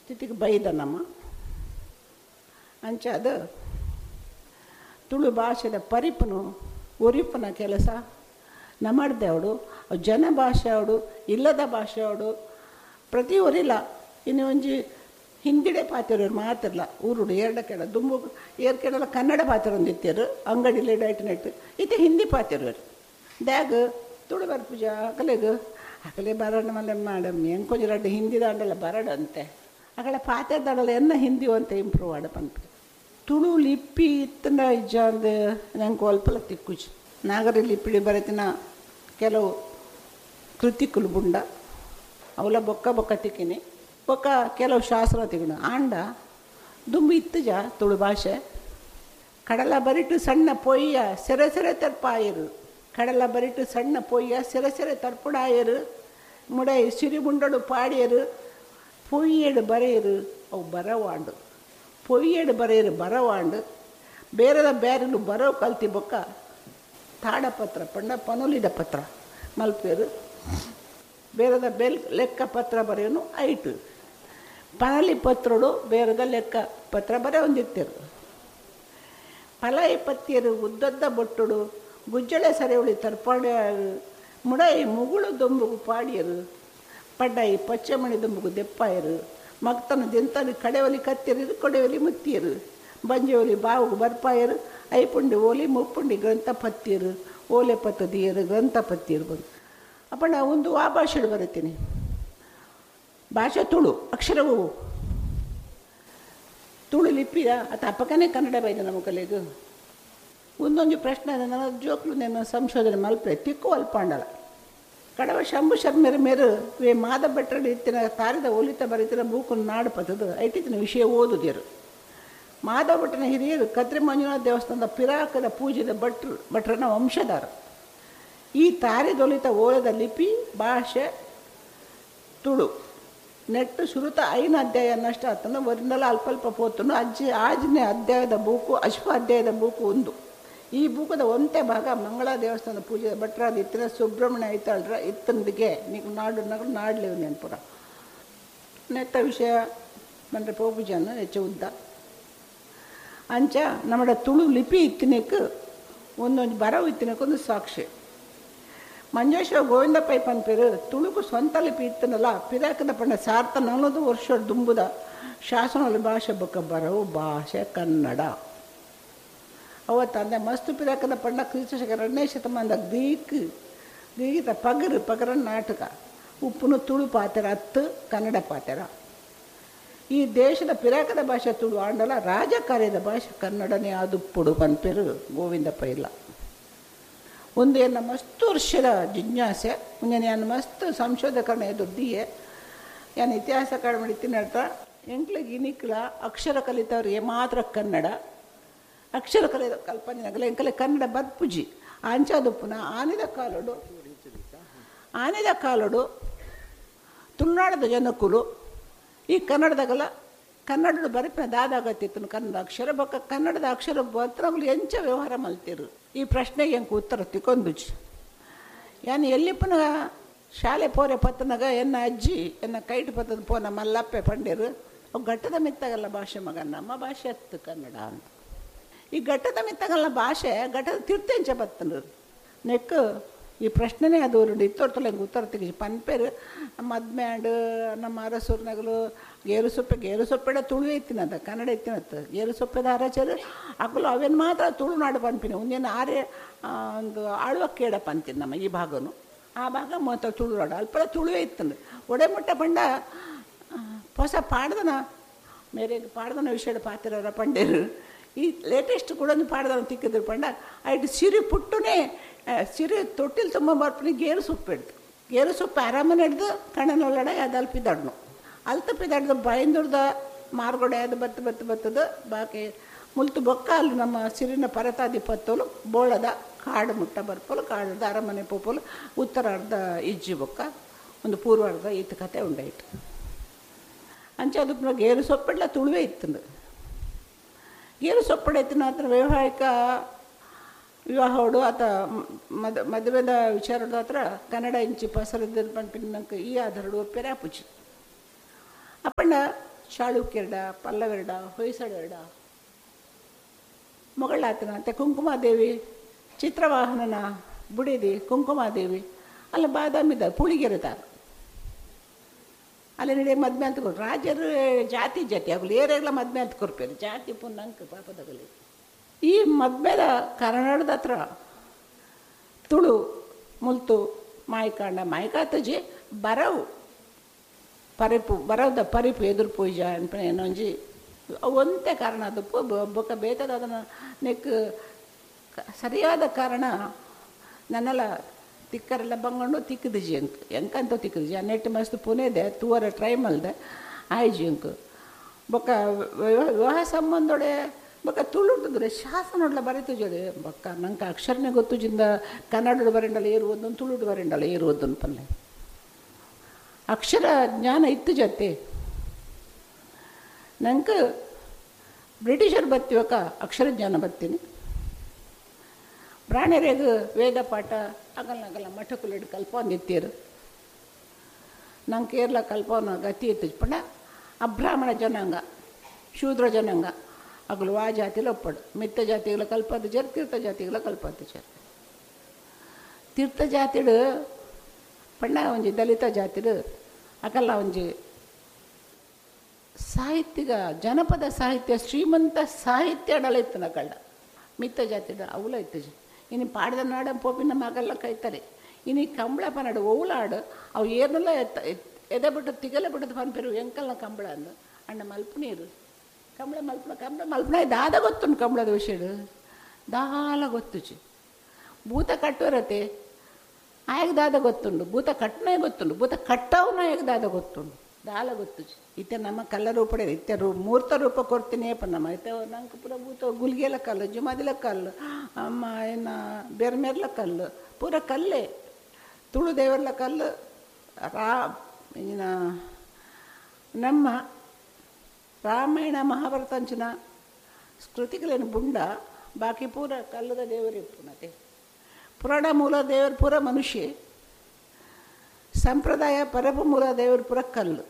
ಸ್ಥಿತಿಗೆ ಬೈದ ನಮ್ಮ. ಅಂಚಾದ ತುಳು ಭಾಷೆದ ಪರಿಪುನು ಒರಿಪುನ ಕೆಲಸ ನಮ್ಮಡ್ದೆ ಅವಡು, ಜನ ಭಾಷೆ ಅವಡು, ಇಲ್ಲದ ಭಾಷೆ ಅವಡು, ಪ್ರತಿ ಒರಿಲ್ಲ. ಇನ್ನು ಒಂಜಿ ಹಿಂದಿಡೆ ಪಾತಿರೋರು ಮಾತಿರಲ್ಲ ಊರುಡು ಎರಡ ಕೆಡ ದುಂಬು ಏರ್ ಕೆಡಲ ಕನ್ನಡ ಪಾತಿರೊಂದಿತ್ತೇರು ಅಂಗಡಿಲಿ ಡೈಟ್ ನೆಟ್ ಇತ್ತೆ ಹಿಂದಿ ಪಾತಿರೋರು. ದ್ಯಾಗ ತುಳು ಬರ್ಪುಜ ಅಕಲೆಗ್ ಅಕಲೆ ಬರಡ ಮಲ್ಲೆ ಮೇಡಮ್ ಎಂಕೊಂಜಿ ರಡ್ಡು ಹಿಂದಿ ದಾಂಡಲ ಬರಡ ಅಂತೆ ಅಕಲೆ ಪಾತೆರ್ದಾಡಲ ಎನ್ನ ಹಿಂದಿ ಅಂತ ಇಂಪ್ರೂವ್ ಆಡ ಪನ್ಪಿ. ತುಳು ಲಿಪಿ ಇತ್ತಂಡ ಇಜ್ಜ ಅಂದು ನಂಗೆ ಅಲ್ಪಲ ತಿಕ್ಕುಜಿ. ನಾಗರಿ ಲಿಪಿ ಬರೆತಿನ ಕೆಲವು ಕೃತಿಕುಲು ಬುಂಡ ಅವಲ ಬೊಕ್ಕ ಬೊಕ್ಕ ತಿಕ್ಕಿನಿ ಬೊಕ್ಕ ಕೆಲವು ಶಾಸ್ತ್ರ ತಿಕ್ಕಣ ಆಂಡ ದುಂಬು ಇತ್ತುಜ ತುಳು ಭಾಷೆ. ಕಡಲ ಬರಿಟು ಸಣ್ಣ ಪೊಯ್ಯ ಸೆರೆ ಸೆರೆ ತರ್ಪಾಯರು, ಕಡಲ ಬರಿಟು ಸಣ್ಣ ಪೊಯ್ಯ ಸೆರೆ ಸೆರೆ ತರ್ಪುಡಾಯರು, ಮುಡೈ ಸಿರಿಬುಂಡಡು ಪಾಡಿಯರು, ಪೊಯ್ಯಡು ಬರೆಯರು ಅವು ಬರವಾಂಡು, ಪೊಯ್ಯಡು ಬರೆಯರು ಬರವಾಂಡು, ಬೇರೆದ ಬೇರೆಲು ಬರವು ಕಲ್ತಿ ಬೊಕ್ಕ ತಾಡಪತ್ರ ಪಂಡ ಪನೊಲಿದ ಪತ್ರ ಮಲ್ಪೇರು, ಬೇರೆದ ಬೆಲ್ ಲೆಕ್ಕ ಪತ್ರ ಬರೆಯೋನು ಐಟು ಪನಲಿ ಪತ್ರಡು ಬೇರೆದ ಲೆಕ್ಕ ಪತ್ರ ಬರೆಯೊಂದಿತ್ತರು. ಫಲ ಪತ್ತಿಯರು ಉದ್ದದ್ದ ಬೊಟ್ಟುಡು ಗುಜ್ಜಳೆ ಸರೆಯುಳಿ ತರ್ಪಾಡ್ಯಾರು, ಮುಡೈ ಮುಗುಳು ದೊಂಬುಗು ಪಾಡಿಯರು, ಪಡ್ಡಾಯಿ ಪಚ್ಚಮಣಿ ದುಂಬುಗು ದೆಪ್ಪಾಯರು, ಮಕ್ತನ ದಿಂತನ ಕಡೆವಲಿ ಕತ್ತಿಯರು ಕೊಡೆವಲಿ ಮುತ್ತಿಯರು, ಬಂಜೆವಲಿ ಬಾವುಗು ಬರ್ಪಾಯರು, ಐಪುಂಡಿ ಓಲಿ ಮುಪ್ಪುಂಡಿ ಗ್ರಂಥ ಪತ್ತಿಯರು, ಓಲೆ ಪತ್ತದಿಯರು ಗ್ರಂಥ ಪತ್ತಿಯರು ಬಂದು. ಅಪ್ಪ ನಾ ಒಂದು ಆ ಭಾಷೆಡು ಬರೀತೀನಿ, ಭಾಷೆ ತುಳು, ಅಕ್ಷರವು ತುಳು ಲಿಪಿಯ ಅತ ಅಪ್ಪಕನೇ ಕನ್ನಡ ಬೈದ ನಮ್ಮ ಕಲೆಗು. ಒಂದೊಂದು ಪ್ರಶ್ನೆ ನನ್ನ ಜೋಕ್ಲು నేను ಸಂಶೋಧನೆ ಮಲ್ಪೆ ತಿಕ್ಕು ಅಲ್ಪಾಂಡಲ. ಕಡವ ಶಂಭು ಶರ್ಮೆರ ಮೇರು ವೇ ಮಾದ ಭಟ್ರಡು ಇತ್ತಿನ ತಾರಿದ ಒಲಿತ ಬರಿತಿನ ಬೂಕನ್ನು ನಾಡು ಪತ್ತದು ಐಟಿತ್ತಿನ ವಿಷಯ ಓದುದಿರು. ಮಾಧವ ಭಟ್ಟನ ಹಿರಿಯರು ಕದ್ರಿ ಮಂಜುನಾಥ ದೇವಸ್ಥಾನದ ಪಿರಾಕದ ಪೂಜೆದ ಭಟ್ರು, ಭಟ್ರನ ವಂಶದಾರ. ಈ ತಾರಿದೊಲಿತ ಓಲದ ಲಿಪಿ ಭಾಷೆ ತುಳು ನೆಟ್ಟು ಸುರುತ ಐನ ಅಧ್ಯಾಯ ನಷ್ಟ ಆತನ ಒರಿಂದಲ ಅಲ್ಪ ಅಲ್ಪ ಪೋತನು ಅಜ್ಜಿ ಆಜನೇ ಅಧ್ಯಾಯದ ಬೂಕು ಅಶ್ವ ಅಧ್ಯಾಯದ ಬೂಕು ಒಂದು. ಈ ಬೂಕದ ಒಂತೆ ಭಾಗ ಮಂಗಳ ದೇವಸ್ಥಾನದ ಪೂಜೆ ಭಟ್ರಾದ ಇತ್ತಿನ ಸುಬ್ರಹ್ಮಣ್ಯ ಐತಾಳ್ರ ಇತ್ತಂದಿಗೆ ನೀವು ನಾಡು ನಗರು ನಾಡ್ಲೇವು ನೆನಪುರ. ನೆತ್ತ ವಿಷಯ ಬಂದರೆ ಪೋಪುಜಾನ ಹೆಚ್ಚು ಉದ್ದ ಅಂಚ ನಮ್ಮಡ ತುಳು ಲಿಪಿ ಇತ್ತಿನಕ್ಕೆ ಒಂದೊಂದು ಬರವು ಇತ್ತಿನಕ್ಕೊಂದು ಸಾಕ್ಷಿ. ಮಂಜೇಶ್ವರ ಗೋವಿಂದ ಪೈ ಪನ್ಪೇರು ತುಳುಕು ಸ್ವಂತ ಲಿಪಿ ಇತ್ತನಲ್ಲ ಪಿರಾಕದ ಪಂಡ ಸಾರ್ಥ 400 ವರ್ಷ ದುಂಬುದ ಶಾಸನ ಭಾಷೆ ಬೊಕ್ಕ ಬರವು ಭಾಷೆ ಕನ್ನಡ. ಅವತ್ತಂದೆ ಮಸ್ತು ಪಿರಾಕದ ಪಂಡ ಕ್ರಿಸ್ತಶಕ 2ನೇ ಶತಮಾನದ ಗ್ರೀಕ್ ಗೀತ ಪಗರು ಪಗರ ನಾಟಕ ಉಪ್ಪುನು ತುಳು ಪಾತೆರ ಅತ್ತು ಕನ್ನಡ ಪಾತೆರ. ಈ ದೇಶದ ಪಿರಾಕದ ಭಾಷೆ ತುಳು ಆಂಡಲ ರಾಜಕಾರ್ಯದ ಭಾಷೆ ಕನ್ನಡನೇ ಆದುಪ್ಪುಡು ಪನ್ಪೇರು ಗೋವಿಂದ ಪೈಲ. ಒಂದು ಎನ್ನ ಮಸ್ತು ವರ್ಷದ ಜಿಜ್ಞಾಸೆ ಮುಂಜಾನೆ ಮಸ್ತ್ ಸಂಶೋಧಕರಣ ಎದುರ್ದಿಯೇ ಯಾನ್ ಇತಿಹಾಸ ಕಾಡ್ ತಿನ್ನಡ್ತಾ ಎಂಕ್ಲಿಗೆ ಇನಿಕ್ಲ ಅಕ್ಷರ ಕಲಿತವ್ರಿಗೆ ಮಾತ್ರ ಕನ್ನಡ ಅಕ್ಷರ ಕಲಿತ ಕಲ್ಪನೆ ಎಂಕಲೆ ಕನ್ನಡ ಬರ್ಪುಜಿ ಅಂಚಾದುಪ್ಪುನ ಆನೆದ ಕಾಲಡು ಆನೆದ ಕಾಲಡು ತುಳುನಾಡದ ಜನಕ್ಕುಲು ಈ ಕನ್ನಡದಾಗಲ್ಲ ಕನ್ನಡದ ಬರಪಿನ ದಾದಾಗತ್ತಿತ್ತು ಕನ್ನಡ ಅಕ್ಷರ ಬೊಕ್ಕ ಕನ್ನಡದ ಅಕ್ಷರ ಬತ್ರಗಳು ಎಂಚ ವ್ಯವಹಾರ ಮಲ್ತಿರು. ಈ ಪ್ರಶ್ನೆಗೆ ಎಂಕ್ ಉತ್ತರ ತಿಕ್ಕೊಂದುಜಿ. ಯಾನ್ ಎಲ್ಲಿಪ್ಪನ ಶಾಲೆ ಪೋರೆ ಪತ್ತನಾಗ ಎನ್ನ ಅಜ್ಜಿ ಎನ್ನ ಕೈಟ್ ಪತ್ತದ ಪೋನ ಮಲ್ಲಪ್ಪೆ ಪಂಡೇರು ಅವು ಘಟ್ಟದ ಮಿತ್ತಾಗಲ್ಲ ಭಾಷೆ ಮಗ ನಮ್ಮ ಭಾಷೆ ಅತ್ತು ಕನ್ನಡ ಅಂತ. ಈ ಘಟ್ಟದ ಮಿತ್ತಾಗಲ್ಲ ಭಾಷೆ ಘಟ್ಟದ ತಿರ್ತೆಂಚ ಬತ್ತನರು ನೆಕ್ ಈ ಪ್ರಶ್ನೆನೇ ಅದು ಇತ್ತೊರ್ತಲ್ಲ ಹಿಂಗೆ ಉತ್ತರ ತೆಗಿ ಪನ್ಪೇರು ಮದ್ಮ್ಯಾಂಡು ನಮ್ಮ ಅರಸೂರ್ನಗಲು ಗೇರು ಸೊಪ್ಪೆ ಗೇರು ಸೊಪ್ಪೆಡ ತುಳು ಎತ್ತಿನದ ಕನ್ನಡ ಎತ್ತಿನತ್ತ ಗೇರು ಸೊಪ್ಪೆದ ಅರಚರು ಅಕಲು ಅವೇನು ಮಾತ್ರ ತುಳುನಾಡು ಪನ್ಪಿನ ಒಂದೇನು ಆರೆ ಒಂದು ಆಳ್ವ ಕೇಡಪ್ಪ ಅಂತೀನಿ ನಮ್ಮ ಈ ಭಾಗನು ಆ ಭಾಗ ಮಾತ್ರ ತುಳುನಾಡು ಅಲ್ಪ ತುಳುವೇ ಇತ್ತಂದು ಒಡೆಮುಟ್ಟ ಪಂಡ ಹೊಸ ಪಾಡ್ದನ ಮೇರೆ ಪಾಡ್ದನ ವಿಷಯದ ಪಾತಿರವರ ಪಂಡೇರು ಈ ಲೇಟೆಸ್ಟ್ ಕೂಡ ಒಂದು ಪಾಡ್ದನ ತಿಕ್ಕಿದ್ರು ಪಂಡ ಐಟ್ ಸಿರಿ ಪುಟ್ಟುನೇ ಸಿರಿ ತೊಟ್ಟಿಲು ತುಂಬ ಬರ್ಪನಿ ಗೇರು ಸೊಪ್ಪು ಹಿಡ್ದು ಗೇರು ಸೊಪ್ಪು ಆರಾಮನೆ ಹಿಡ್ದು ಕಣ್ಣನೊಳಗಡೆ ಅದು ಅಲ್ಪಿದಡ್ನು ಅಲ್ತಪ್ಪಿದಡ್ದು ಬೈಂದುರ್ದ ಮಾರ್ಗೊಡೆ ಅದು ಬತ್ತು ಬತ್ತು ಬತ್ತದ ಬಾಕಿ ಮುಲ್ತು ಬೊಕ್ಕ ಅಲ್ಲಿ ನಮ್ಮ ಸಿರಿನ ಪರತಾದಿ ಪತ್ತೋಲು ಬೋಳದ ಕಾಡು ಮುಟ್ಟ ಬರ್ಪೋಲು ಕಾಡದ ಅರಮನೆ ಪೋಪೋಲು ಉತ್ತರಾರ್ಧ ಇಜ್ಜಿ ಬೊಕ್ಕ ಒಂದು ಪೂರ್ವಾರ್ಧ ಈತ ಕತೆ ಉಂಡಾಯ್ತು. ಅಂಚೆ ಅದು ಗೇರು ಸೊಪ್ಪೆಡ್ಲ ತುಳುವೇ ಇತ್ತಂದು ಗೇರು ಸೊಪ್ಪಡೆ ಇತ್ತಿನ ಹತ್ರ ವ್ಯಾವಹಾರಿಕ ವಿವಾಹೋಡು ಆತ ಮದುವೆದ ವಿಚಾರದ ಹತ್ರ ಕನ್ನಡ ಇಂಚಿ ಪಸರದ ಪಂಪಿನ ಈ ಆಧಾರಡು ಪೆರಾಪುಜಿ ಅಪ್ಪಣ್ಣ ಚಾಳುಕ್ಯರ್ಡ ಪಲ್ಲವೆರಡ ಹೊಯ್ಸಳರಡ ಮೊಗಳಾತನ ಕುಂಕುಮಾದೇವಿ ಚಿತ್ರವಾಹನನ ಬುಡಿದಿ ಕುಂಕುಮಾದೇವಿ ಅಲ್ಲ ಬಾದಾಮಿದ ಪುಳಿಗೆರೆದಾರ ಅಲ್ಲಿ ನಡೆ ಮದ್ಮೆ ಅಂತ ಕೊರು ರಾಜರು ಜಾತಿ ಜಾತಿ ಆಗಲಿ ಏರೆಲ್ಲ ಮದ್ಮೆ ಅಂತ ಕೊರ್ಪೇರು ಜಾತಿ ಪುನ್ನಂಕ ಪಾಪದಗಲಿ. ಈ ಮದ್ಮೆದ ಕರ್ನಾಟಕದ ಹತ್ರ ತುಳು ಮುಲ್ತು ಮಾಯ್ಕಾಂಡ ಮಾಯ್ಕಾತಜಿ ಬರವು ಪರಿಪು ಬರವದ ಪರಿಪು ಎದುರು ಪೂಜ ಅನ್ಪನೆ ಏನೊಂಜಿ ಒಂತೆ ಕಾರಣ ಅದು ಬೊಕ್ಕ ಬೇತದ ಅದನ್ನು ನೆಕ್ ಸರಿಯಾದ ಕಾರಣ ನನ್ನೆಲ್ಲ ತಿಕ್ಕರೆಲ್ಲ ಬಂಗಂಡು ತಿಕ್ಕದಿಜಿ ಎಂಕ್ ಎಂಕಂತ ತಿಕ್ಕದಿಜಿ ಆ ನೆಟ್ ಮಸ್ತ್ ಪುಣೆದೆ ತೂವರ ಟ್ರೈ ಮಲ್ದೆ ಆಯ್ಜಿ ಎಂಕ್ ಬೊಕ್ಕ ವಿವಾಹ ಸಂಬಂಧೊಡೆ ಬೊಕ್ಕ ತುಳುಟುದ್ರೆ ಶಾಸನೊಡ್ಲ ಬರೀತುಜೋಡೆ ಬೊಕ್ಕ ನಂಗೆ ಅಕ್ಷರನೇ ಗೊತ್ತುಜಿಂದ ಕನ್ನಡ ಬರೆಂಡಲ್ಲ ಏರುವುದನ್ನು ತುಳುಟು ಬರೆಂಡಲ್ಲ ಏರುವುದನ್ನು ಪಲ್ಲೆ ಅಕ್ಷರ ಜ್ಞಾನ ಇತ್ತು ಜೊತೆ ನಂಗೆ ಬ್ರಿಟಿಷರು ಬತ್ತಿವಕ ಅಕ್ಷರ ಜ್ಞಾನ ಬತ್ತೀನಿ ಬ್ರಾಣೆರೆಗ್ ವೇದ ಪಾಠ ಆಗಲ್ಲ ಆಗಲ್ಲ ಮಠಕುಲಿಡ್ ಕಲ್ಪೊಂದಿತ್ತೀರು ನಂಗೆ ಕೇರಳ ಕಲ್ಪವನ ಗತಿ ಇತ್ತು ಪಂಡ ಅಬ್ರಾಹ್ಮಣ ಜನಾಂಗ ಶೂದ್ರ ಜನಾಂಗ ಅಗಲು ಆ ಜಾತಿಲ ಒಪ್ಪಡು ಮಿತ್ತ ಜಾತಿಗಳ ಕಲ್ಪದ ಜರ್ ತೀರ್ಥ ಜಾತಿಗಳ ಕಲ್ಪದ ಜರ್ ತೀರ್ಥ ಜಾತಿಡು ಪಂಡ ಒಂಜಿ ದಲಿತ ಜಾತಿಡು ಅಕಲ್ಲ ಒಂಜಿ ಸಾಹಿತ್ಯಿಕ ಜನಪದ ಸಾಹಿತ್ಯ ಶ್ರೀಮಂತ ಸಾಹಿತ್ಯ ಅಡಲ ಇತ್ತು ನಕಳ್ಳ ಮಿತ್ತ ಜಾತಿಡು ಅವಲ ಇತ್ತು ಇನ್ನು ಪಾಡ್ದ ನಾಡ ಪೋಪಿನ ಮಗಲ್ಲ ಕೈತಾರೆ ಇನ್ನು ಕಂಬಳ ಪನಾಡು ಓಲಾಡು ಅವು ಏನೆಲ್ಲ ಎತ್ತ ಎದೆ ಬಿಟ್ಟು ತಿಗಲೆ ಬಿಟ್ಟದ ಪನ್ಪೆರು ಎಂಕಲ್ನ ಕಂಬಳ ಅಂದು ಅಣ್ಣ ಮಲ್ಪುನೀರು ಕಂಬಳ ಮಲ್ಪುನ ಕಂಬಳ ಮಲ್ಪುನ ದಾದ ಗೊತ್ತುಂಟು ಕಂಬಳದ ವಿಷಯ ದಾಲ ಗೊತ್ತುಚಿ ಭೂತ ಕಟ್ಟುವರತೆ ಆಯಗ ದಾದ ಗೊತ್ತುಂಡು ಭೂತ ಕಟ್ಟನೇ ಗೊತ್ತುಂಡು ಭೂತ ಕಟ್ಟವನ ಆಯಗ ದಾದ ಗೊತ್ತುಂಡು ದಾಲ ಗೊತ್ತುಚಿ ಇತ್ತೆ ನಮ್ಮ ಕಲ್ಲ ರೂಪಡೆ ಇತ್ತೆ ರೂ ಮೂರ್ತ ರೂಪ ಕೊಡ್ತೀನಿ ಏಪ ನಮ್ಮ ಇತ್ತೆ ನಂಗೆ ಪೂರ ಭೂತ ಗುಲ್ಗೆಲ ಕಲ್ಲು ಜುಮಾದಿಲ ಕಲ್ಲು ಅಮ್ಮ ಏನ ಬೆರ್ಮೆರ್ಲ ಕಲ್ಲು ಪೂರ ಕಲ್ಲೇ ತುಳು ದೇವರ್ಲ ಕಲ್ಲು ರಾ ಇನ್ನ ನಮ್ಮ ರಾಮಾಯಣ ಮಹಾಭಾರತ ಅಂಚಿನ ಕೃತಿಗಳೇನು ಬುಂಡ ಬಾಕಿ ಪೂರ ಕಲ್ಲದ ದೇವರೇ ಪುನತೆ ಪುರಾಣ ಮೂಲ ದೇವರು ಪೂರ ಮನುಷ್ಯ ಸಂಪ್ರದಾಯ ಪರಪ ಮೂಲ ದೇವರು ಪೂರ ಕಲ್ಲು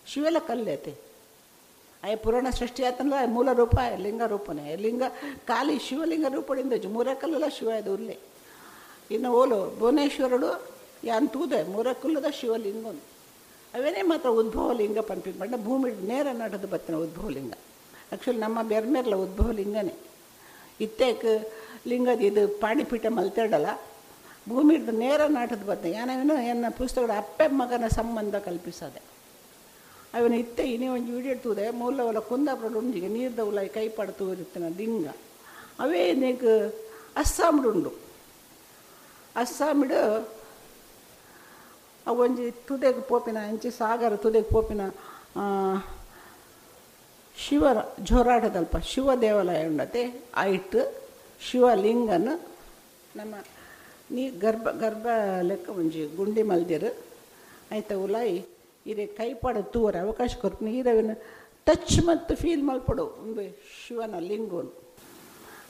ಶಿವೆಲ್ಲ ಕಲ್ಲೈತೆ ಆಯ ಪುರಾಣ ಸೃಷ್ಟಿ ಆತನಲ್ಲ ಮೂಲ ರೂಪ ಲಿಂಗ ರೂಪನೇ ಲಿಂಗ ಖಾಲಿ ಶಿವಲಿಂಗ ರೂಪದಿಂದ ಮೂರ ಕಲ್ಲಲ್ಲ ಶಿವ ಅದು ಉರ್ಲೆ ಇನ್ನು ಓಲು ಭುವನೇಶ್ವರಡು ಯಾನ್ ತೂದೆ ಮೂರ ಕಲ್ಲದ ಶಿವಲಿಂಗನು ಅವೇನೇ ಮಾತ್ರ ಉದ್ಭವ ಲಿಂಗ ಪಂಪಿ ಬಣ್ಣ ಭೂಮಿ ನೇರ ನಾಟದ ಬತ್ತಿನ ಉದ್ಭವ ಲಿಂಗ ಆ್ಯಕ್ಚುಲಿ ನಮ್ಮ ಬೆರ್ಮೇರ್ಲ ಉದ್ಭವ ಲಿಂಗನೇ ಇತ್ತೇಕ್ ಲಿಂಗದ ಇದು ಪಾಣಿಪೀಠ ಮಲ್ತೇಡಲ್ಲ ಭೂಮಿ ನೇರ ನಾಟದ ಬತ್ತ ಯಾನವೇನು ಎನ್ನ ಪುಸ್ತಕದ ಅಪ್ಪೆ ಮಗನ ಸಂಬಂಧ ಕಲ್ಪಿಸದೆ ಅವನ ಇತ್ತೆ ಇನಿ ಒಂಜಿ ವಿಡಿಯೋ ತೂದೆ ಮೂಲವಲ ಕುಂದಾಪುರ ಉಂಜಿಗೆ ನೀರ್ದ ಉಲ ಕೈ ಪಡ್ತು ಇರ್ತನ ಲಿಂಗ ಅವೇ ನೀಕ್ ಅಸ್ಸಾಂಡು ಉಂಡು ಅಸ್ಸಾಮಿಡು ಅವು ಒಂಜಿ ತುದೆಗೆ ಪೋಪಿನ ಅಂಚಿ ಸಾಗರ ತುದೆಗೆ ಪೋಪಿನ ಶಿವರ ಜೋರಾಟದಲ್ಪ ಶಿವ ದೇವಾಲಯ ಉಂಡತೆ ಆಯಿಟ್ಟು ಶಿವಲಿಂಗನ ನಮ್ಮ ನೀ ಗರ್ಭ ಗರ್ಭ ಲೆಕ್ಕ ಒಂಜಿ ಗುಂಡಿ ಮಲ್ದಿರು ಆಯ್ತ ಉಲಾಯಿ ಇರೆ ಕೈಪಾಡ ತೂವರ ಅವಕಾಶ ಕೊರ್ಪು ನೀರವಿನ ಟಚ್ ಮತ್ತು ಫೀಲ್ ಮಲ್ಪಡು ಒಂದು ಶಿವನ ಲಿಂಗನು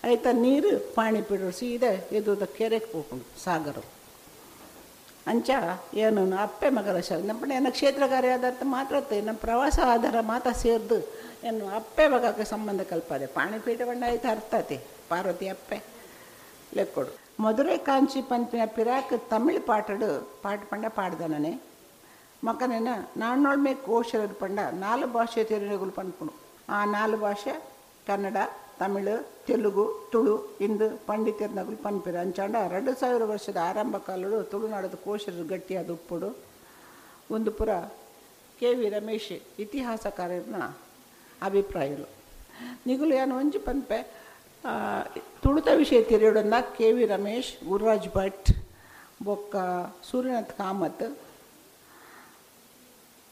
ಆಯ್ತಾ ನೀರು ಪಾಣಿ ಪಿಡು ಸೀದಾ ಎದುದ ಕೆರೆಗೆ ಹೋಗ್ಕೊಂಡು ಸಾಗರ ಅಂಚ ಏನು ಅಪ್ಪೆ ಮಗರ ಶ ನಮ್ಮ ಏನ ಕ್ಷೇತ್ರ ಕಾರ್ಯ ಆಧಾರ ಮಾತ್ರ ನಮ್ಮ ಪ್ರವಾಸ ಆಧಾರ ಮಾತ್ರ ಸೇರ್ದು ಏನು ಅಪ್ಪೆ ಮಗಕ್ಕೆ ಸಂಬಂಧ ಕಲ್ಪದೆ ಪಾಣಿಪೀಠ ಬಣ್ಣ ಆಯ್ತು ಅರ್ಥತೆ ಪಾರ್ವತಿ ಅಪ್ಪೆ ಲೆಕ್ಕೊಡು ಮಧುರೈ ಕಾಂಚಿ ಪಂಪಿನ ಪಿರಾಕ್ ತಮಿಳ್ ಪಾಟಡು ಪಾಟ್ ಪಂಡ ಪಾಡ್ದನನೆ ಮಕ್ಕನೇನ ನಾನ್ನೊಳ್ಮೆ ಕೋಶರ ಪಂಡ ನಾಲು ಭಾಷೆ ತೆರಿನಗುಲು ಪನ್ಪುಣು ಆ ನಾಲು ಭಾಷೆ ಕನ್ನಡ ತಮಿಳು ತೆಲುಗು ತುಳು ಇಂದು ಪಂಡಿತರ್ನಗುಲು ಪನ್ಪಿರ ಅಂಚಾಂಡ 2000 ವರ್ಷದ ಆರಂಭ ಕಾಲಡು ತುಳುನಾಡದ ಕೋಶರು ಗಟ್ಟಿಯಾದ ಉಪ್ಪುಡು ಒಂದು ಪುರ ಕೆ ವಿ ರಮೇಶ್ ಇತಿಹಾಸಕಾರನ ಅಭಿಪ್ರಾಯలు ನಿಗುಲು ಏನು ಒಂಜಿ ಪನ್ಪೆ ತುಳುತ ವಿಷಯ ತಿರಿಯೋಡನ್ನ ಕೆ ವಿ ರಮೇಶ್ ಗುರುರಾಜ್ ಭಟ್ ಬೊಕ್ಕ ಸೂರ್ಯನಾಥ್ ಕಾಮತ್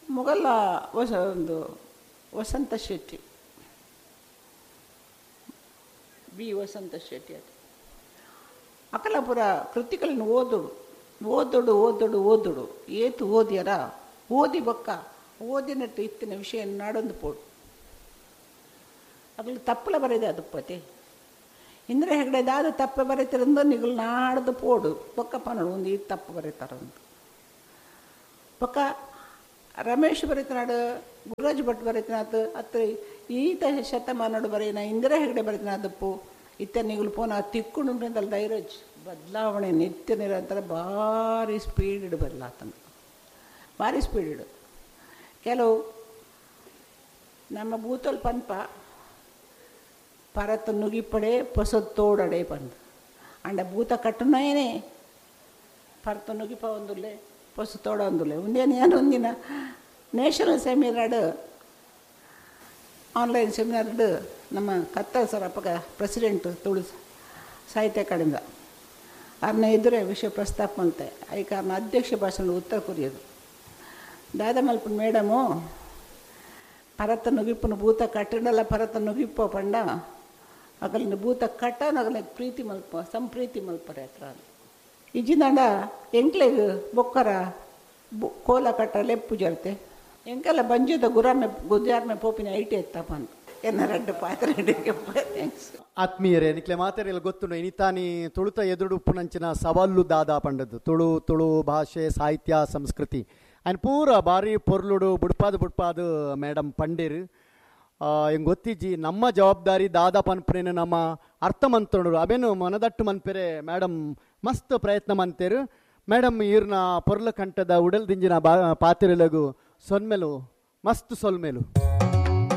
ಮೊಗಲ ಹೊಸ ಒಂದು ವಸಂತ ಶೆಟ್ಟಿ ಬಿ ವಸಂತ ಶೆಟ್ಟಿ ಅದು ಅಕಲಪುರ ಕೃತಿಗಳನ್ನು ಓದುಡು ಓದುಡು ಓದುಡು ಓದುಡು ಏತು ಓದ್ಯಾರ ಓದಿ ಬೊಕ್ಕ ಓದಿನಟ್ಟು ಇತ್ತಿನ ವಿಷಯ ನಾಡೊಂದು ಪೋಡು ಅಗಲು ತಪ್ಪಲ ಬರೆದೆ ಅದು ಪತಿ ಇಂದ್ರ ಹೆಗಡೆ ದಾದ ತಪ್ಪು ಬರೀತಿರಂದು ನಿಗಲು ನಾಡ್ದು ಪೋಡು ಬೊಕ್ಕ ಪನಡು ಒಂದು ಈ ತಪ್ಪು ಬರೀತಾರಂದು ಬೊಕ್ಕ ರಮೇಶ್ ಬರೆತನಾಡು, ಗುರುರಾಜ್ ಭಟ್ ಬರೆತನಾಥ್ ಅತ್ರ ಈತ ಶತಮಾನಡು ಬರೆಯಿನ ಇಂದಿರಾ ಹೆಗಡೆ ಬರೆತನಾದಪ್ಪು ಇತ್ತ ನಿಗುಲು ಪೋನ ತಿಕ್ಕುಂಡು ಧೈರ್ಯ ಬದಲಾವಣೆ ನಿತ್ಯ ನಿರಂತರ ಭಾರಿ ಸ್ಪೀಡ್ ಬದಲಾತನ, ಭಾರಿ ಸ್ಪೀಡ್. ಕೆಲವು ನಮ್ಮ ಬೂತಲ್ ಪನ್ಪ ಪರತ ನುಗಿಪಡೆ ಪೊಸ ತೋಡಡೆ ಪಂದು ಅಂಡ ಭೂತ ಕಟ್ಟುನೇನೆ ಪರತ ನುಗಿಪ ಒಂದುಲ್ಲೆ ಪೊಸ ತೋಡ ಒಂದುಲ್ಲೆ. ಒಂದೇನು ಏನು ಒಂದಿನ ನ್ಯಾಷನಲ್ ಸೆಮಿನಾರ್ಡ್ ಆನ್ಲೈನ್ ಸೆಮಿನಾರ್ಡ್ ನಮ್ಮ ಕತ್ತಲ್ ಸರ್ ಅಪ್ಪಗ ಪ್ರೆಸಿಡೆಂಟ್ ತುಳು ಸಾಹಿತ್ಯ ಅಕಾಡೆಮಿದ ಅರ್ನ ಎದುರೇ ವಿಷಯ ಪ್ರಸ್ತಾಪ ಮಲ್ತೆ. I ಕಾರಣ ಅಧ್ಯಕ್ಷ ಭಾಷಣ ಉತ್ತರ ಕೊರಿಯೋದು ದಾದ ಮಲ್ಪನ ಮೇಡಮು ಪರತ ನುಗಿಪ್ಪನ ಭೂತ ಕಟ್ಟಡಲ್ಲ ಪರತ ನುಗಿಪ್ಪ ಪಂಡ ಅಗಲಿನ ಭೂತ ಕಟ್ಟನ ಅಗಲ ಪ್ರೀತಿ ಮಲ್ಪ ಸಂಪ್ರೀತಿ ಮಲ್ಪರೆ ಹತ್ರ ಇಜ್ಜಿಂದಾಂಡ ಎಂಕ್ಲೆಗ್ ಬೊಕ್ಕರ ಕೋಲ ಕಟ್ಟ ಲೆಪ್ಪು ಜರ್ತೆ ಎಂಕೆಲ್ಲ ಬಂಜದ ಗುರಾಮೆ ಗುಜಾರ್ಮೆ ಪೋಪಿನ IT ಎತ್ತಪ್ಪ ಅಂತ ಎನ್ನ ರಡ್ಡು ಪಾತ್ರೆ. Thanks. ಆತ್ಮೀಯರೇ, ನಿಕ್ಲೆ ಮಾತೆರೆಲ್ಲ ಗೊತ್ತುಂಡು ಇನಿತಾನಿ ತುಳುತ ಎದುರು ಉಪ್ಪುನಂಚಿನ ಸವಾಲು ದಾದಾ ಪಂಡದ್ದು ತುಳು ತುಳು ಭಾಷೆ ಸಾಹಿತ್ಯ ಸಂಸ್ಕೃತಿ ಆ್ಯಂಡ್ ಪೂರ ಭಾರಿ ಪೊರ್ಲುಡು ಬುಡ್ಪಾದು ಬುಡ್ಪಾದು ಮೇಡಮ್ ಪಂಡೇರು. ಹೆಂಗೆ ಗೊತ್ತಿಜ್ಜಿ ನಮ್ಮ ಜವಾಬ್ದಾರಿ ದಾದಾ ಪನ್ಪುನೇನು ನಮ್ಮ ಅರ್ಥ ಮಂತೊಂಡು ಅವೇನು ಮನದಟ್ಟು ಮನ್ಪೆರೆ ಮೇಡಮ್ ಮಸ್ತ್ ಪ್ರಯತ್ನ ಮಂತೇರು. ಮೇಡಮ್ ಈರ್ನ ಪೊರ್ಲ ಕಂಠದ ಉಡಲ್ ದಿಂಜಿನ ಬಾ ಪಾತಿರಲಗು ಸೊನ್ಮೆಲು ಮಸ್ತ್ ಸೊಲ್ಮೆಲು.